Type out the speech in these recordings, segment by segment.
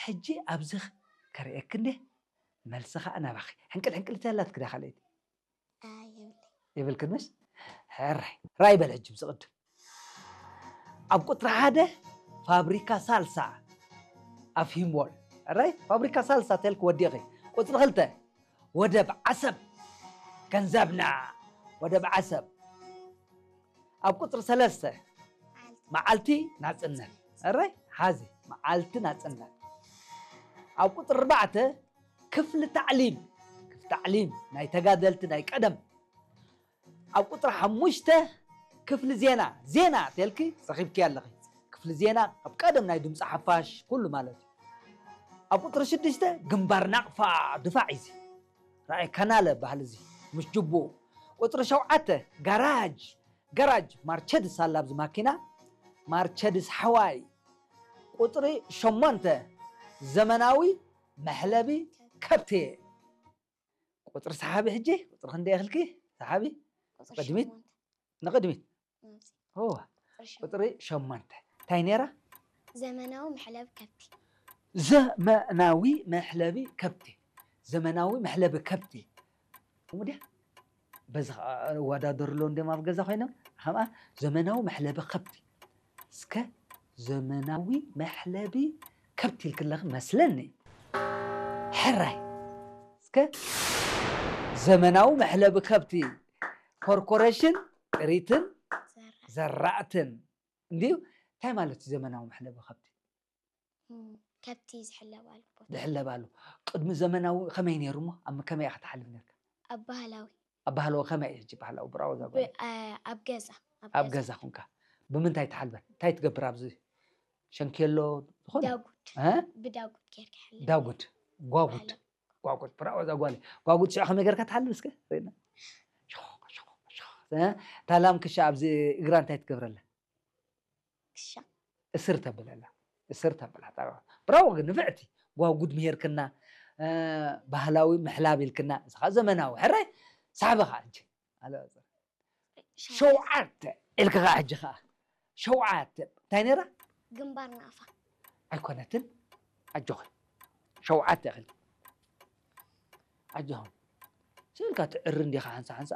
ሕጂ ኣብዚ ከርእየኪ እንዴ፣ መልሲ ኸዓ ናባኺ። ሕንቅል ሕንቅል ተላትኪ ዳ ካልኣይቲ? ኣይ፣ የብለይ። የብልክን ምስ? ሕራይ። ራይ በል ሕጂ ብዝቕድም። ኣብ ቁፅሪ ሓደ ፋብሪካ ሳልሳ ኣፍሂምዎል። ሕራይ? ፋብሪካ ሳልሳ ተልክ ወዲኺ። ቁፅሪ ክልተ ወደብ ዓሰብ ገንዘብና። ወደብ ዓሰብ። ኣብ ቁፅሪ ሰለስተ መዓልቲ ናፅነት። ሕራይ? ሓዚ መዓልቲ ናፅነት። ኣብ ቁፅሪ ኣርባዕተ ክፍሊ ታዕሊም። ክፍሊ ታዕሊም ናይ ተጋደልቲ ናይ ቀደም። ኣብ ቁፅሪ ሓሙሽተ ክፍሊ ዜና። ዜና ተልኪ ረኺብኪ ኣለኺ። ክፍሊ ዜና ኣብ ቀደም ናይ ድምፂ ሓፋሽ ኩሉ ማለት እዩ። ኣብ ቁፅሪ ሽዱሽተ ግንባር ናቕፋ ድፋዕ እዩ። ራእይ ካናለ ባህል እዚ ምስ ጅቡኡ። ቁፅሪ ሸውዓተ ጋራጅ። ጋራጅ ማርቸድስ ኣላ ኣብዚ ማኪና። ማርቸድስ ሓዋይ። ቁፅሪ ሸሞንተ ዘመናዊ መሕለቢ ከብቲ። ቁፅሪ ሰሓቢ ሕጂ፣ ቁፅሪ ክንደይ እኽልኪ? ሰሓቢ? ቁፅሪ ቅድሚት? ሸሞንተ። ንቕድሚት? ናብዚ። እዋ። ቁፅሪ ሸሞንተ። ቁፅሪ ሸሞንተ። እንታይ ነይራ? ዘመናዊ መሕለቢ ከብቲ። ዘመናዊ መሕለቢ ከብቲ። ዘመናዊ መሕለቢ ከብቲ። እሙ ድያ? በዚ ኸዓ እወዳደሩ ኣለዉ እንዲዮም ኣብ ገዛ ኮይኖም። ኸምኣ ዘመናዊ መሕለቢ ከብቲ። እስከ ዘመናዊ መሕለቢ ከብቲ ኢልክለኺ መስለኒ። ሕራይ። እስከ ዘመናዊ መሕለቢ ከብቲ ኮርፖሬሽን ጥሪትን ዘራእቲ። ዘራእትን። እንድዩ? እንታይ ማለት እዩ ዘመናዊ መሕለቢ ከብቲ? እም፣ ከብቲ ዝሕለባሉ ቦታ። ዝሕለባሉ። ቅድሚ ዘመናዊ ከመይ ነይሩ እሞ? ኣብ ከመይ ኢኻ ትሓልብ ነርካ? ኣብ ባህላዊ። ኣብ ባህላዊ ከመይ እዩ ሕጂ ባህላዊ? ብራዎ እዛ ብ-፣ ጓል። አ-፣ ኣብ ገዛ፣ ኣብ ኣብ ገዛ። ገዛ ኹንካ። ብምንታይ ትሓልበን? እንታይ ትገብር ኣብዚ? ሸንኬሎ ዝኾነ? ዳጉድ። እ? ብዳጉድ ጌርካ ይሕለብ። ዳጉድ። ጓጉድ። ባህላዊ። ጓጉድ። ብራዎ እዛ ጓል። ጓጉድ ሽዑ ከመይ ጌርካ ትሓልብ እስከ? ርኢና። ሾኽ፣ ሾኽ፣ ሾኽ። እ? እታ ላም ክሻ ኣብዚ እግራ እንታይ ትገብረላ? ክሻ። እስር ተብለላ። እስር ተብላ። ብራዎ ግን ንፍዕቲ። ጓጉድ ምሄርክና፣ እ፣ ባህላዊ ምሕላብ ኢልክና። ንስኻ ዘመናዊ። ሕራይ፣ ሳሕቢ ኸዓ ሕጂ። ኣለ ሸውዓተ። ሸውዓተ ኢልኪ ኸዓ ሕጂ ኸዓ። ሸውዓተ። እንታይ ነይራ? ግንባር ናቕፋ። ኣይኮነትን። ኣጆኺ። ሸውዓተ ኢኺ። ኣጆኹም። ስእልካ ትዕሪ እንዲኻ ሓንሳ ሓንሳ።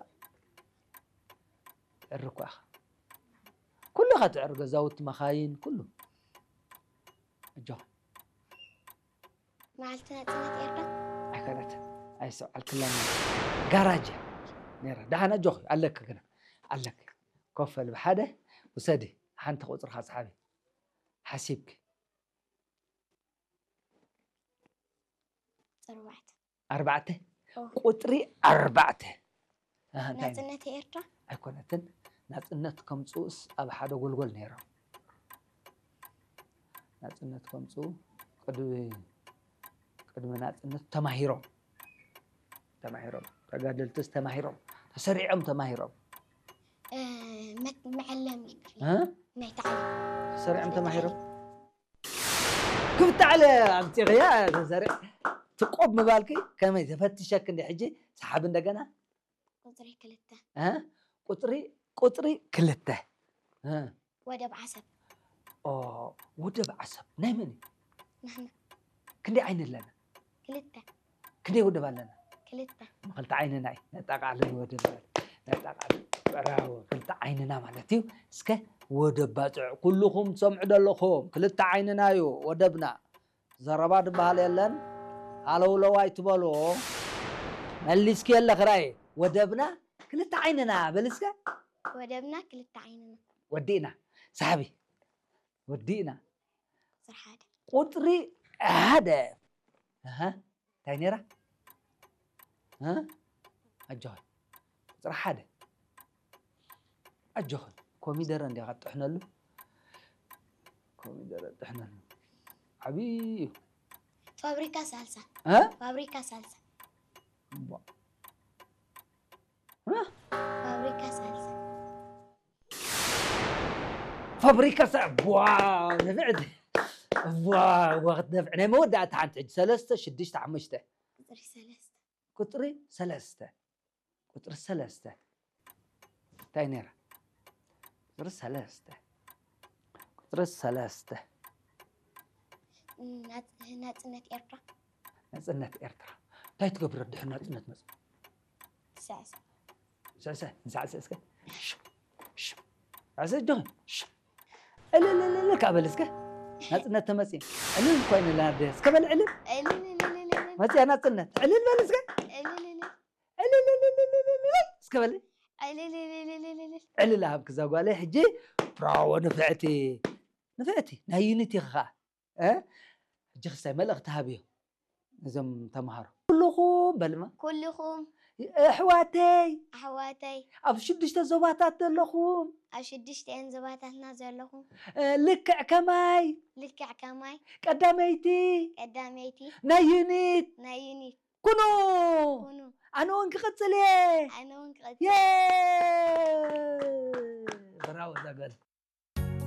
ትዕሪ እኮ ኢኻ። ኩሉ ኢኻ ትዕሪ፣ ገዛውቲ፣ መኻይን፣ ኩሉ። ኣጆኹም። መዓልቲ ናጽነት ኤርትራ? ኣይኮነትን። ኣይሰውዓልክላን። ጋራጅ እያ ነይራ። ደሓን ኣጆኺ፣ ኣለኪ ግና። ኣለኪ። ኮፍ በሊ ብሓደ ውሰዲ። ሓንቲ ቁጽርኻ ሰሓቢ። ሓሲብኪ። ኣርባዕተ። ኣርባዕተ? ኦ። ቁጽሪ ኣርባዕተ። ኣሃ፣ እንታይ? ናጽነት ኤርትራ? ኣይኮነትን። ናጽነት ከምጽኡስ ኣብ ሓደ ጎልጎል ነይሮም። ናጽነት ከምጽኡ ቅድሚ፣ ቅድሚ ናጽነት ተማሂሮም። ተማሂሮም። ተጋደልትስ ተማሂሮም። ተሰሪዖም ተማሂሮም። እ፣ መት-፣ መዐለሚ ክፍሊ። እ? ናይ ታዕሊም። ተሰሪዖም መፍለጢ ተማሂሮም። ክፍቲ ዓለ ኣምፂኽያ ተዘሪዕ ትቆብ ምባልኪ ከመይ ተፈትሸክ እንደ ሕጂ ሰሓብ እንደገና ቁፅሪ ክልተ። እ? ቁፅሪ ቁፅሪ ክልተ። እ። ወደብ ዓሰብ። ኦ፣ ወደብ ዓሰብ ናይ መን እዩ? ናህና። ክንደይ ዓይኒ ኣለና? ክልተ። ክንደይ ወደብ ኣለና? ክልተ። ክልተ ዓይንና እዩ። ነጣቃዕልን ወደብ ነጣቃዕልን። ብራቮ። ክልተ ዓይንና ማለት እዩ። እስከ ወደብ ባጽዕ ኩልኹም ትሰምዑ ዘለኹም ክልተ ዓይንና እዩ ወደብና። ዘረባ ዝበሃል የለን። ሃለውለው ኣይትበሉ። መሊስኪ የለ ክራይ። ወደብና ክልተ ዓይንና በል እስከ። ወደብና ክልተ ዓይንና። ወዲእና። ሳሕቢ። ወዲእና። ቁፅሪ ሓደ። ቁፅሪ ሓደ። ኣሃ። እንታይ ነይራ? እ? ኣጆኺ። ቁፅሪ ሓደ። ኣጆኺ። ኮሚደረ እንዲኻ ትጥሕነሉ። ኮሚደረ ትጥሕነሉ። ዓብዪ እዩ። ፋብሪካ ሳልሳ። እ? ፋብሪካ ሳልሳ። እምቧ። እ? ፋብሪካ ሳልሳ። ፋብሪካ ሳ-፣ ዋው፣ ንፍዕቲ። ዋው፣ ዋው፣ ክትነፍዕ። ናይ መወዳእታ ሓንቲ ሕጂ፣ ሰለስተ፣ ሽዱሽተ፣ ሓሙሽተ። ቁፅሪ ሰለስተ። ቁፅሪ ሰለስተ። ቁፅሪ ሰለስተ። እንታይ ነይራ? ቁፅሪ ሰለስተ። ቁፅሪ ሰለስተ። ናጽነት ኤርትራ። ናጽነት ኤርትራ እንታይ ትገብር ድሕር ናጽነት መጽ ሳዕስ ሰሰ ንሳዕስዕ እስከ ሳዕስዕ ጆ እልልልል ካብ በል እስከ ናጽነት ተመጽእ ዕልል እኳ ይንላደ እስከ በል ዕልል መጽያ ናጽነት ዕልል በል እስከ እስከ በል ዕልል ኣብ ክዛ ጓለ ሕጂ ብራዎ ንፍዕቲ ንፍዕቲ ናይ ዩኒቲ ኸዓ ሕጂ ክስታይ መልእኽቲ ሃብዮ እዞም ተምሃሮ ኩልኹም በልማ ኩልኹም ኣሕዋተይ ኣሕዋተይ ኣብ ሽዱሽተ ዞባታት ዘለኹም ኣብ ሽዱሽተን ዞባታትና ዘለኹም ልክዕ ከማይ ልክዕ ከማይ ቀዳመይቲ ቀዳመይቲ ናይ ዩኒት ናይ ዩኒት ኩኑ ኩኑ ኣነ እውን ክቕጽል እየ ኣነ እውን ክቐጽ የ ብራዎ ዛጓል